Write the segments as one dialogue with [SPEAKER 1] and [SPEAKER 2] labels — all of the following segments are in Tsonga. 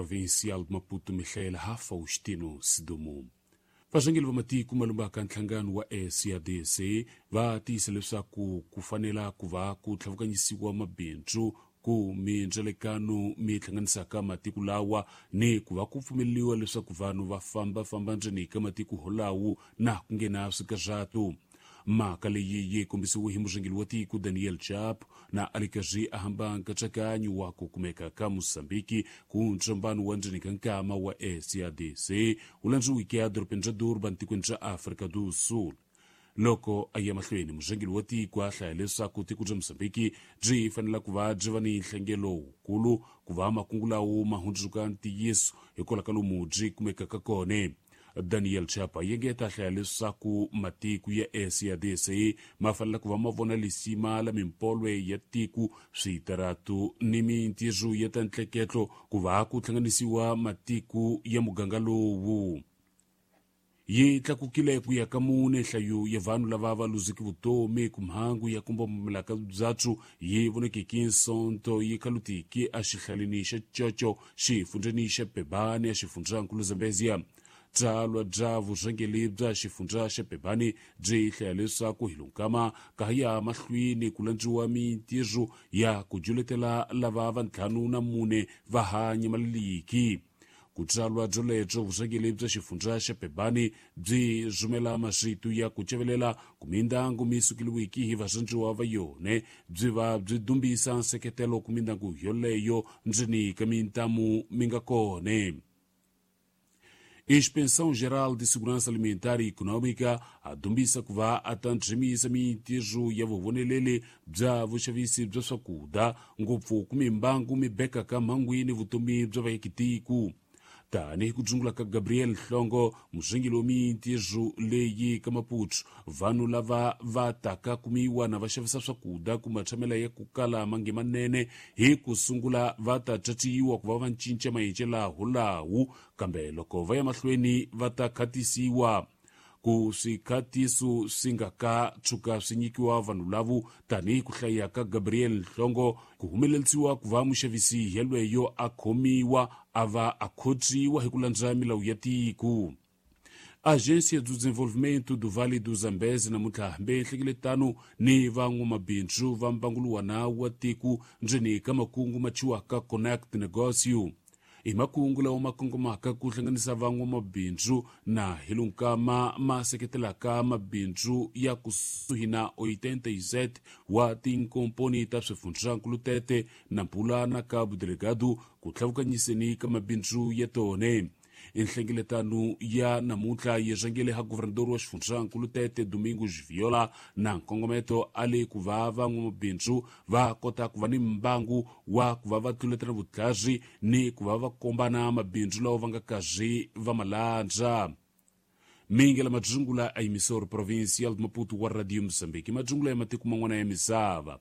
[SPEAKER 1] Provincial de Maputo, Michel Faustino Sidumo. Varhangeri va matiko malumbaka nhlangano wa SADC va tiyisa leswaku ku fanela ku va ku tlhavukanyisiwa mabindzu ku mindzelekano mi hlanganisaka matiko lawa ni ku va ku pfumeleriwa leswaku vanhu va fambafamba ndzeni ka matiko holawo na ku nghena swikarhatu. Mhaka leyi yi kombisiwe hi murhangeri wa tiko Daniel Chapo na a ri karhi a hamba nkatsakanyo wa ku kumeka ka Mozambiki ku ntsombano wa ndzeni ka nkama wa SADC wu landziweke edorobeni ra Durban tikweni ra Afrika do Sul. Loko a ya mahlweni, murhangeri wa tiko a hlaya leswaku tiko bya Mozambiki byi fanele ku va byi va ni nhlengelo wukulu ku va makungu lawo ma hundzuka ntiyiso hikwalaho ka lomu byi kumekaka kona. Daniel Chapa yengeta hlaya leswaku matiko ya SADC ma fanele ku va ma vona lisima la mimpolwe ya tiko, switaratu ni mintirho ya ta ntleketlo ku va ku hlanganisiwa matiko ya muganga lowu. Yi tlakukile ku ya ka mune nhlayo ya vanhu lava va luzeke vutomi ku mhangu ya ku mbombomela ka byatsu yi vonekeke Sonto yi khalutiki exihlaleni xa Chocho xifundzheni xa Pebane exifundzankulu Zambezia. Tsalwa bya vurhangeri bya xifundza xa Pebane byi hlaya leswaku hi lonkama ka ya mahlweni ku landziwa mintirho ya ku juletela lava va 54 va ha nyamaleliki. Ku tsalwa byolebyo vurhangeri bya xifundza xa Pebane byi rhumela marito ya ku cevelela ku mindyangu mi sukeliwiki hi varhandziwa va yona, byi va byi dumbisa nseketelo ku mindyangu yoleyo ndzeni ka mintamu mi nga kona. Inspeção Geral de Segurança Alimentar e Econômica a dumbisa ku va a ta ndzimisa mintirho ya vuvoneleli bya vuxavisi bya swakudya ngopfu ku mimbangu mi bekaka mhangwini vutomi bya vaakitiko. Tanihi ku dzungula ka Gabriel Nhlongo, murhangeri wa mintirho leyi ka Maputo, vanhu lava va taka kumiwa na va xavisa swakudya ku matshamela ya ku kala mange manene hi ku sungula va ta caciwa ku va va cinca maendlelo holawo, kambe loko va ya mahlweni va ta khatisiwa. Ku swikhatiso swi nga ka tshuka swi nyikiwa vanhu lavo tanihi ku hlaya ka Gabriel Nhlongo ku humelerisiwa ku va muxavisi yelweyo a khomiwa a va a khotsiwa hi ku landza milawu ya tiko. Agência do Desenvolvimento do Vale do Zambeze namuntlha hambe nhlengeletano ni van'wamabindzu va mbanguluwana wa tiko ndzeni ka makungu ma thyiwaka Connect Negócio. I makungu lawa ma kongomaka ku hlanganisa van'wamabindzu na hi lunkama ma seketelaka mabindzu ya kusuhi na 87 wa tinkomponi ta swifundzankulu tete na Mpula na Cabo Delgado ku tlhavukanyiseni ka mabindzu ya tona. Nhlengeletano ya namuntlha yi rhangele ha governador wa xifundzankulu Tete Domingos Viola na nkongometo a le ku va van'wamabindzu va kota ku va ni mbangu wa ku va va tluletela vutlhari ni ku va va kombana mabindzu lawa va nga karhi va malandza. Mingi la madzungula a emissora provincial de Maputo wa Radio Mozambique, madzungula ya matiko man'wana ya misava.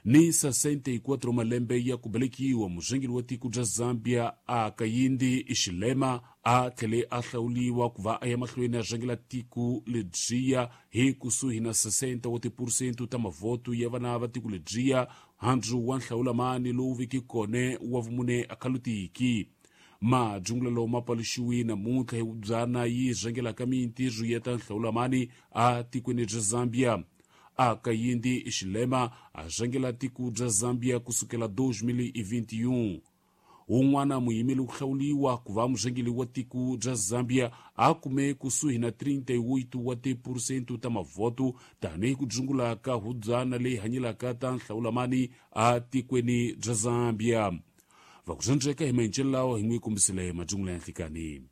[SPEAKER 1] Ni 64 malembe ya ku velekiwa, murhangeri wa tiko bya Zambia a Kayindi Xilema a tlhele a hlawuliwa ku va a ya mahlweni a rhangela tiko lebyiya hi kusuhi na 60 wa tiphurusente ta mavhoto ya vana va tiko lebyiya handzu wa nhlawulamani lowu veke kona wa vumune a khalutiki. Madzungula lawa ma paluxiwe namuntlha hi vubyana yi rhangelaka mintirho ya ta nhlawulamani a tikweni bya Zambia. A Kayindi Xilema a rhangela tiko bya Zambia kusukela 2021. Wun'wana muyimeli ku hlawuliwa ku va murhangeri wa tiko bya Zambia a kume kusuhi na 38 wa tiphurusente ta mavhoto tanihi ku dzungula ka hubyana leyi hanyelaka ta nhlawulamani a tikweni bya Zambia. Va ku rhandzeka hi maendlelo lawa hi n'wi kombisile madzungula ya nhlikani.